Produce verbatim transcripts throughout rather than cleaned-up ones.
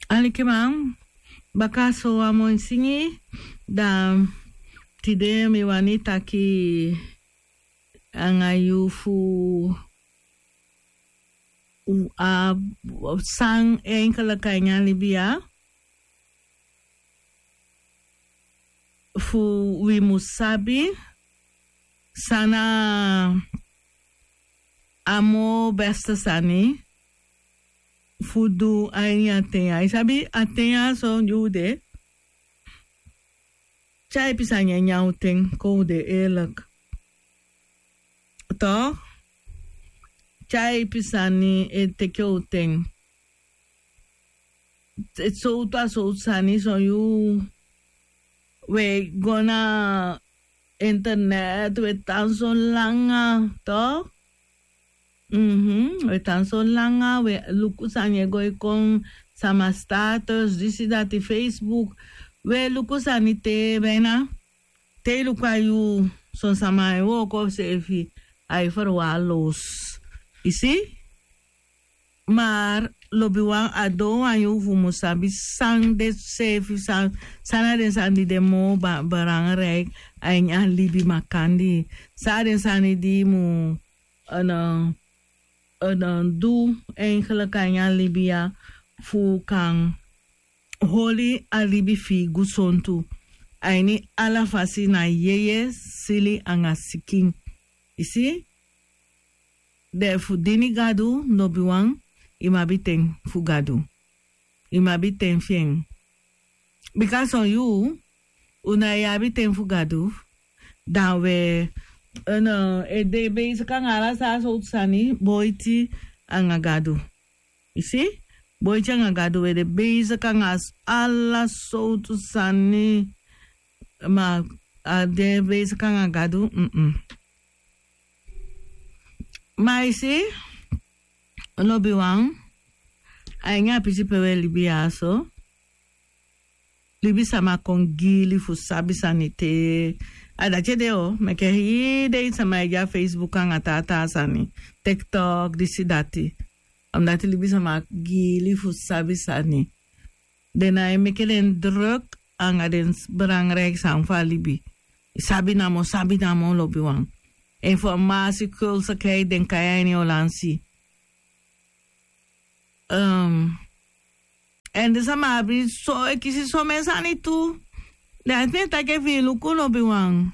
Alikiman, baka so wan moi singi, dan tide mi wani taki anga yu fu a san enkelika ini a libi ya, fu wi mu sabi san na a moo beste sani fu du a ini a ten ya. I sabi a ten ya so di u de, tyaipi sani e nyan u ten, kon u de eerlijk. Toch? Tyaipi sani e teke u ten. Sowtu a sowtu sani, son yuu we go na internet, we tan so langa, toch? Mhm, we tan so langa, we luku sani e go e kon, sama status, disi dati, Facebook. We luku sani te bijna, te i luku a yuu, son sama e wooko seefi, ai verwaarloos. I si? Maar lobiwan, a doo wan yuu fu mu sabi san de seefi, san, san na den sani di de moo ba-, belangrijk a ini a libi makandii. San na den sani di i mu, eh, eh, du eigenlijk a ini a libi ya, fu kan holi a libi fi i gusontu a ini ala fasi, na yeye, sili anga sikin. I si? Den fu dini Gadu, lobiwan, i mu abi ten fu Gadu. I mu abi ten fi en. Bika son yuu, u ná e abi ten fu Gadu, dan we, eh, e de bezig anga ala sowtu sani boiti anga Gadu. I si? Boiti anga Gadu, we de bezig anga s-, ala sowtu sani, ma a de bezig anga Gadu, mm-mm. Ma i si, lobiwan, a ini a pisi pe we libi ya so, libisama kon giili fu sabi sani te, a dati ede o, meke hii dei sama e de a Facebook anga taa taa sani, TikTok, disi dati. Omdat libisama giili fu sabi sani. Den ná e meke den druk anga den s-, belangrijk sani fu a libi. Sabi namo, sabi namo, lobiwan. Informasi, kulsakheid, den kai a ini Olansi. Ehm, èn den sama abi so, e kisi somen sani tu. Den a ten taki efu i luku, lobiwan,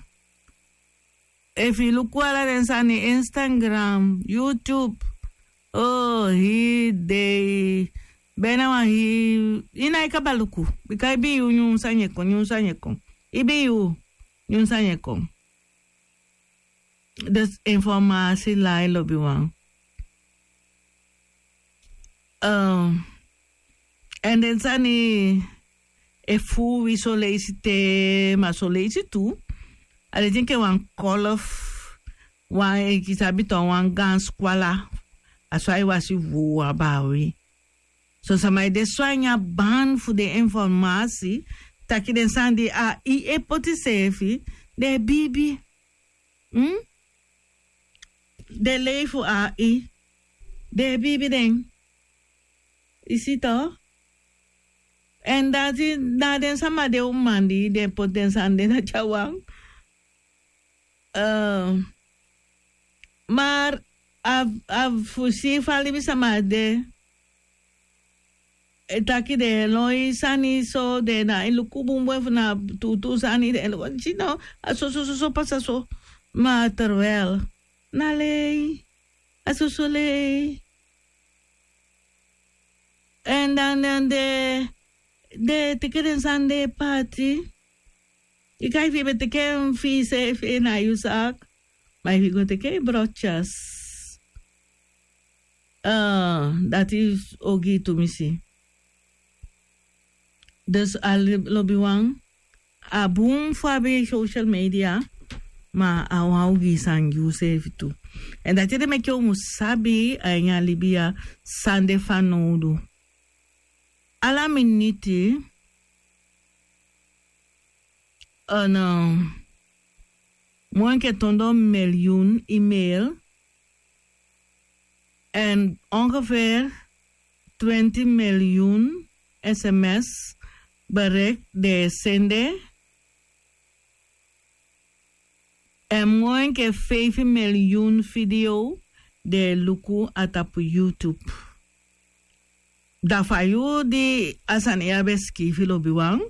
efu i luku ala den sani, Instagram, YouTube, o, hii dei, bijna wan hii, i ná e kaba luku. Bika ibii yuu nyun sani e kon, nyun sani e kon. Ibii yuu nyun sani e kon. Dus informasi lai, lobiwan. Ehm, èn den sani e fuu wi son leisi te, ma son leisi tu, a de enke wan kolf, wan, enke i sabi tu, wan gaan skwala, a so ai wasi fuu a baawi. Son sama e de so a ini a ban fu den informasi, taki den sani di a i e poti seefi, den e biibi. Hmm? Den lei fu a i, den e biibi den. I si toch? Èn dati na den sama de, uman di den poti den sani de na tyawan. Eh, maar a, a fu si fa libisama de, e taki den e lon sani so, den ná e luku bun bun efu na tuutuu sani, den e lon, si no, a so, so, so, so pasa so. Ma terwijl na lei, a so, so lei. Èn dan, dan den, den e teke den sani de e paati. I kan, efu i be teke en fi iseefi, na yu zaak. Ma efu i go teke i brotyas, eh, dati ogii tumisi. Dus a li-, lobiwan, a bun fu abi social media, ma a wan ogii sani gi useefi tu. Èn dati ede meke u mu sabi a ini a libi ya san de fanowdu. Ala miniti, eh, moo enke tu ondoo milyun e-mail, èn ongeveer twenti milyun sms, berek den e sende. Èn moo enke feifi miliyun fideo den e luku a tapu YouTube. Da fa yu di a sani ya ben sikiifi lobiwan,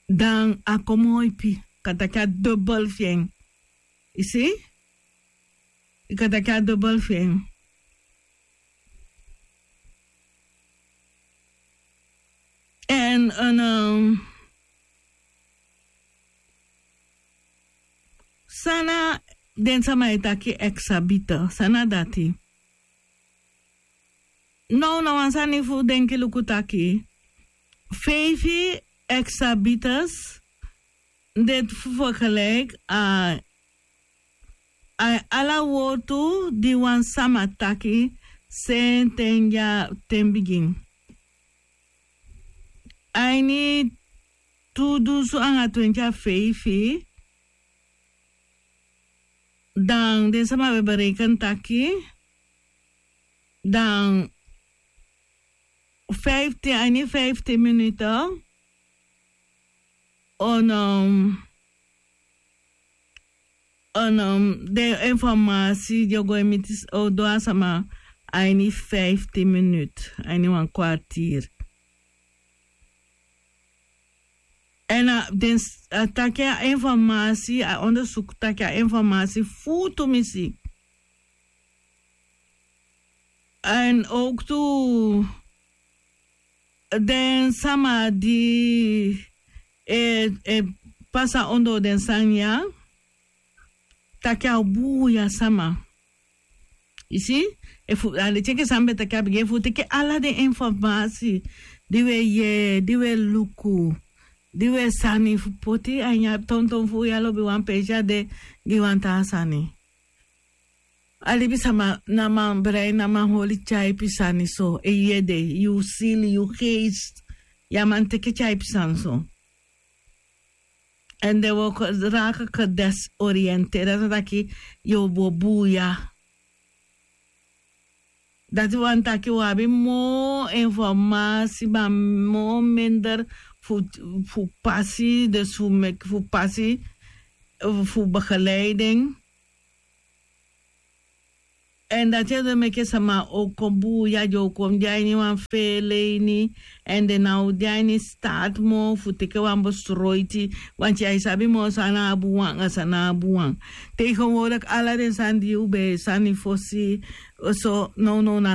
dan a kon moo ipi, kan taki a dobel fi en. I si? I kan taki a dobel fi en. Èn san na den sama e taki eksabita, san na dati? Now na wan sani fu denki luku taki feifi eksabitas de fu fergelijk a ala wortu di wan sama taki senten ya ten bigin. A ini tu dunsu anga twenti a feifi, dan den sama ben bereken taki dan fiftin a ini fiftin minuten on den informasi di o go e miti o du a sama a ini fiftin minuten a ini wan kwartier. Èn a den a taki a informasi a ondersuku taki a informasi fu tumisi. Èn owktu den sama di e pasa ondoo den sani ya taki a o buuya sama. I si? Efu a leti enke san mi ben taki a bigin efu u teke ala den informasi di u e yee di u e luku di u e sani fu poti a ini a tonton fu u ya lobi wan peesi a de gi wan taa sani. A libisama na man brein na man holi tyaipi sani so e yu ede yu sili yu geest. Yu a man teke tyaipi sani so. Èn den wooko raka ke desorienteri a sa taki yu o bo buuya. Dati wani taki wi abi moo informasi ma moo minder fu pasi dus fu meki fu pasi fu begeleiding. Èn dati e du meke sama o kon buuya den o kon de a ini wan feele ini. Èn den na o de a ini staati moo fu teke wan besroiti. Wanti ai sabi moo san na a buwan anga san na a buwan. Tegenwoordik ala den sani di u ben e sani fosi so nownow na